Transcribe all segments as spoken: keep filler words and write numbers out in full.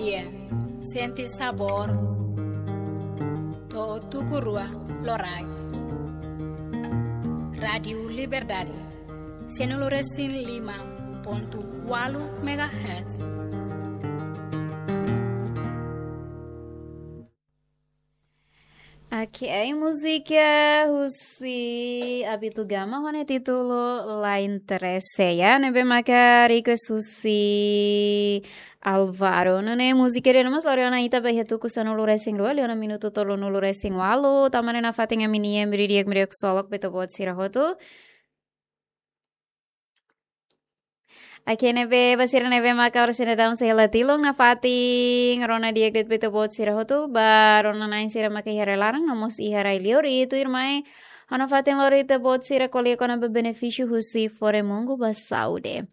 Iya, sente sabór. To'o tuku rua loraik. Rádiu Liberdade, sanulu resin lima pontu ualu megahertz. Oke, múzika husi Abito Gama ho nia títulu La Interese, ya, ne'ebé maka request husi Alvaro. Nune'e múzika ida-ne'e mós lori ona ita ba iha tuku sanulu resin rua, liu ona minutu tolunulu resin ualu, tanba ne'e nafatin ami-nia meio-dia, meio-dia ksolok ba ita-boot sira hotu. Oke, ne'ebé ba sira ne'ebé maka oras ne'e daudaun sei hela tilun, nafatin rona di'ak de'it ba ita-boot sira hotu, ba rona-na'in sira maka iha rai-laran, no mós iha rai-liur, i tuirmai ha'u nafatin lori ita-boot sira ko'alia kona-ba benefísiu husi fore-mungu ba saúde.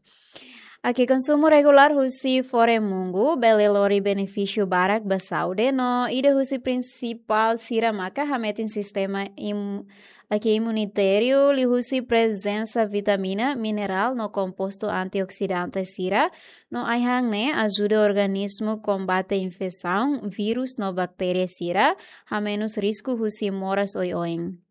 Oke, konsumu regulár husi fore-mungu bele lori benefísiu barak ba saúde, no ida husi prinsipál sira maka hametin sistema im-, oke, imunitáriu liuhusi prezensa vitamina, minerál no kompostu antioksidante sira, no ai-han ne'e ajuda organismu kombate infesaun, vírus no baktéria sira, hamenus risku husi moras oioin.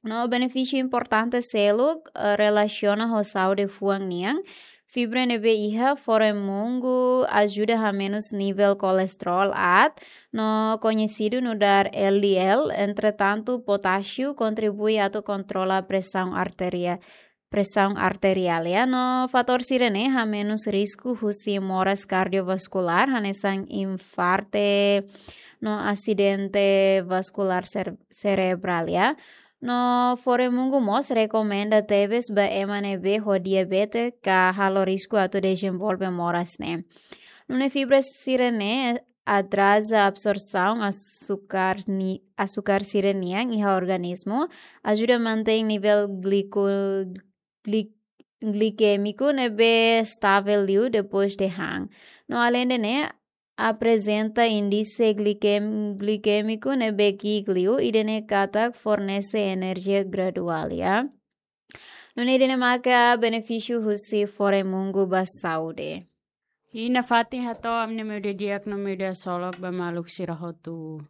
No benefísiu importante seluk, eh, relasiona ho saúde fuan nian. Fibra ne'ebé iha fore-mungu ajuda hamenus nivel kolesterol aat, no koñesidu nu'udar L D L. Entretantu, potásiu kontribui atu kontrola presaun arteria-, presaun arteriál, ya, no fatór sira-ne'e hamenus risku husi moras kardiovaskulár, hanesan infarte no asidente vaskulár ser-, serebrál, ya. No fore-mungu mós rekomenda tebes ba ema ne'ebé ho diabete ka halo risku atu dezenvolve moras ne'e. Nune'e fibra sira-ne'e atraza absorsaun asukar ni-, asukar sira-nian iha organismu, ajuda mantein nivel gliku-, gli-, glikémiku ne'ebé stavel liu depois de han. No aleinde ne'e, aprezenta índise glikem-, glikémiku ne'ebé ki'ik liu, ida-ne'e katak fornese enerjia graduál, ya. Nune'e ida-ne'e maka benefísiu husi fore-mungu ba saúde. I nafatin hato'o ami-nia meio-dia di'ak no meio-dia ksolok ba maluk sira hotu.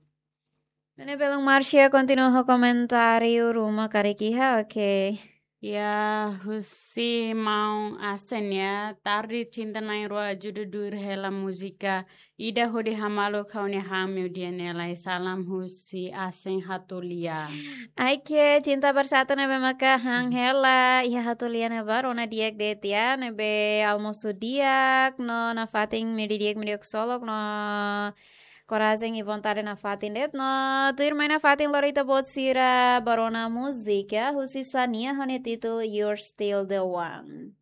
Nune'e belun Márcia kontinua ho komentáriu ruma karik iha, oke. Ya, husi maun Asen ya, tarde cinta na'in-rua ajuda duir hela múzika ida hodi hamaluk ha'u-nia han meio-dia ne'e lai. Salam husi Asen Hatulia. Oke, cinta bersatu ne'ebé maka han hela iha Hatulia ne'ebá, rona di'ak de'it ya, ne'ebé almosu di'ak, no nafatin meio-dia di'ak, meio-dia ksolok, no korajen i vontade nafatin de'it, no tuirmai nafatin lori ita-boot sira ba rona múzika husi Xania ho nia títulu You're Still the One.